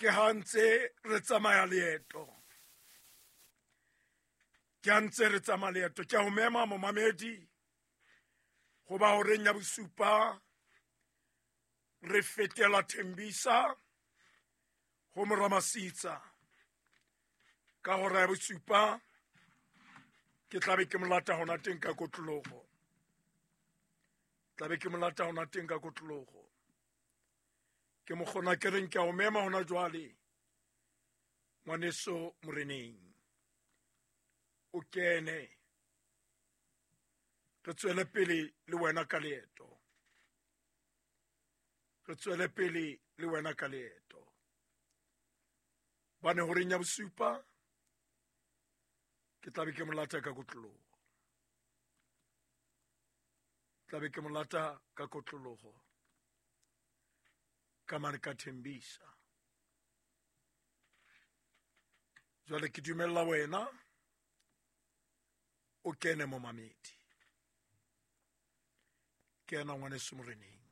Ke ha ntse re tsamaya leeto, ke ha ntse re tsamaya leeto. Ke a ho mema, momamedi, go ba horeng ya bosupa re fetela Thembisa go Moramasitsa. Ka hora ya bosupa ke tlabe ke molata hona teng ka kotlologo, tlabe ke molata hona teng ka kotlologo. Ke mokgona ke reng ke a o mema hona jwale, ngwaneso moreneng, o kene re tswele pele le wena ka leeto, re tswele pele le wena ka leeto. Bane horeng ya bosupa ke tlabe ke molata ka kotlologo, tlabe ke molata ka kotlologo ka mane ka Thembisa. Jwale ke dumella wena o kene, momamedi. Ke ena, ngwaneso moreneng.